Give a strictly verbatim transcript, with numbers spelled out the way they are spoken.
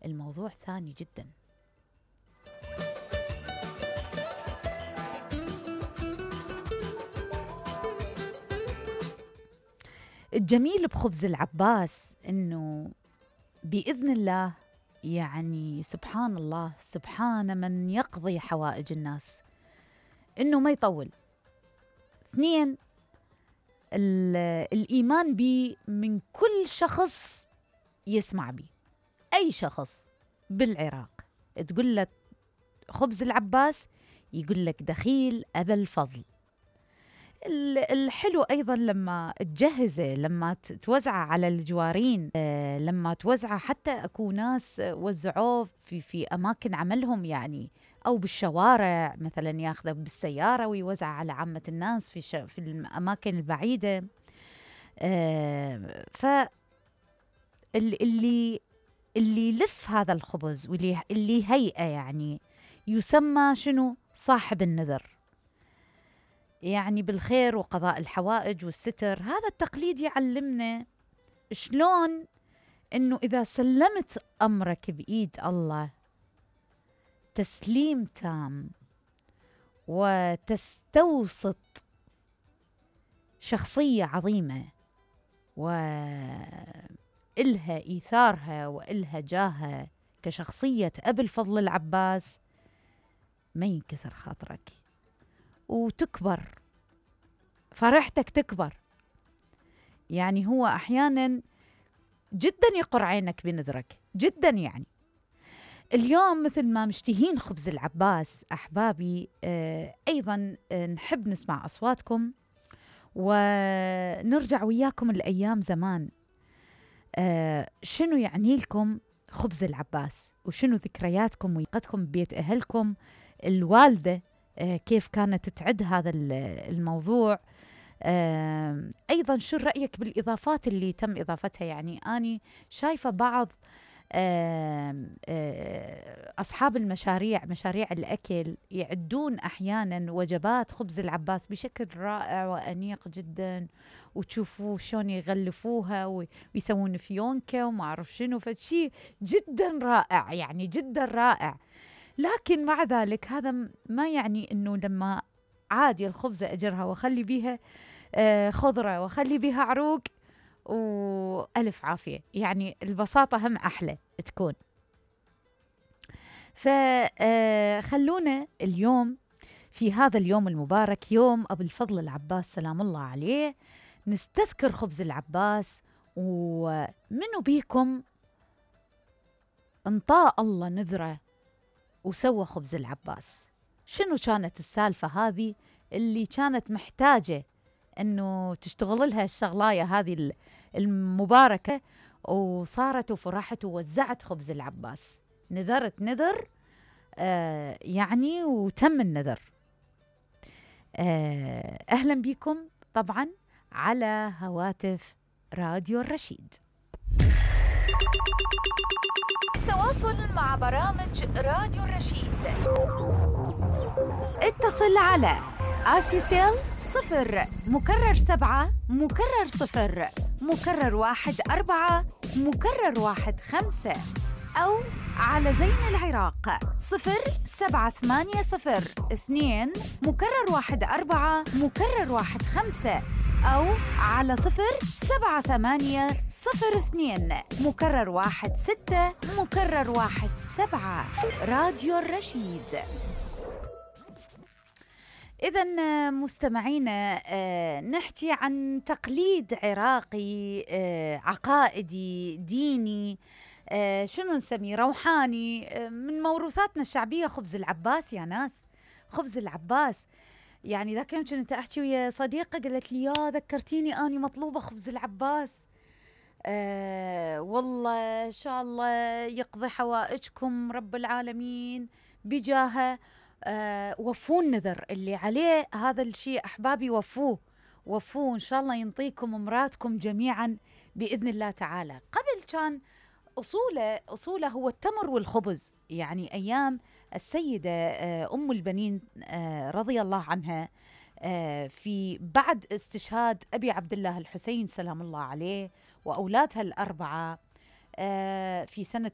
الموضوع ثاني جدا. الجميل بخبز العباس إنه بإذن الله، يعني سبحان الله، سبحان من يقضي حوائج الناس، إنه ما يطول. اثنين، الإيمان بي من كل شخص يسمع بي. أي شخص بالعراق تقول له خبز العباس يقول لك دخيل أبا الفضل. الحلو أيضا لما تجهزه، لما توزعه على الجوارين، لما توزعه حتى أكو ناس وزعوه في, في أماكن عملهم يعني، أو بالشوارع مثلا ياخذه بالسيارة ويوزع على عامة الناس في, في الأماكن البعيدة. ف اللي اللي يلف هذا الخبز واللي اللي هيئة يعني يسمى شنو؟ صاحب النذر، يعني بالخير وقضاء الحوائج والستر. هذا التقليد يعلمنا شلون إنه إذا سلمت أمرك بإيد الله تسليم تام وتستوسط شخصية عظيمة وإلها إيثارها وإلها جاهها كشخصية أبي الفضل العباس، ما ينكسر خاطرك وتكبر فرحتك، تكبر. يعني هو أحيانا جدا يقر عينك بنذرك جدا. يعني اليوم مثل ما مشتهين خبز العباس أحبابي، آه أيضا آه نحب نسمع أصواتكم ونرجع وياكم الأيام زمان. آه شنو يعني لكم خبز العباس، وشنو ذكرياتكم ويقتكم ببيت أهلكم، الوالدة آه كيف كانت تعد هذا الموضوع. آه أيضا شو رأيك بالإضافات اللي تم إضافتها؟ يعني أني شايفة بعض آه آه أصحاب المشاريع، مشاريع الأكل، يعدون أحيانا وجبات خبز العباس بشكل رائع وأنيق جدا، وتشوفوا شلون يغلفوها ويسوون فيونكة وما أعرف شنو، فشي جدا رائع، يعني جدا رائع. لكن مع ذلك هذا ما يعني أنه لما عادي الخبزة أجرها وخلي بيها آه خضرة وخلي بيها عروق وألف عافية، يعني البساطة هم أحلى تكون. فخلونا اليوم في هذا اليوم المبارك، يوم أبو الفضل العباس سلام الله عليه، نستذكر خبز العباس. ومنو بيكم انطاء الله نذره وسوى خبز العباس؟ شنو كانت السالفة هذه اللي كانت محتاجة أنه تشتغل لها الشغلاية هذه المباركة، وصارت وفرحت ووزعت خبز العباس؟ نذرت نذر آه يعني وتم النذر. آه أهلا بكم طبعا على هواتف راديو الرشيد. التواصل مع برامج راديو الرشيد، اتصل على آسيسيل صفر مكرر سبعة مكرر صفر مكرر واحد أربعة مكرر واحد خمسة، أو على زين العراق صفر سبعة ثمانية صفر اثنين مكرر واحد أربعة مكرر واحد خمسة، أو على صفر سبعة ثمانية صفر اثنين مكرر واحد ستة مكرر واحد سبعة. راديو الرشيد. إذن مستمعينا، نحكي عن تقليد عراقي عقائدي ديني، شنو نسميه، روحاني، من موروثاتنا الشعبية. خبز العباس يا ناس، خبز العباس. يعني ذاك يوم كنت أحكي ويا صديقة قالت لي يا ذكرتيني أني مطلوبة خبز العباس. آه والله إن شاء الله يقضي حوائجكم رب العالمين بجاهه. آه وفوا النذر اللي عليه هذا الشيء أحبابي، وفوه وفوه إن شاء الله ينطيكم مراتكم جميعا بإذن الله تعالى. قبل كان أصوله أصوله هو التمر والخبز، يعني أيام السيدة أم البنين رضي الله عنها في بعد استشهاد أبي عبد الله الحسين سلام الله عليه وأولادها الأربعة في سنة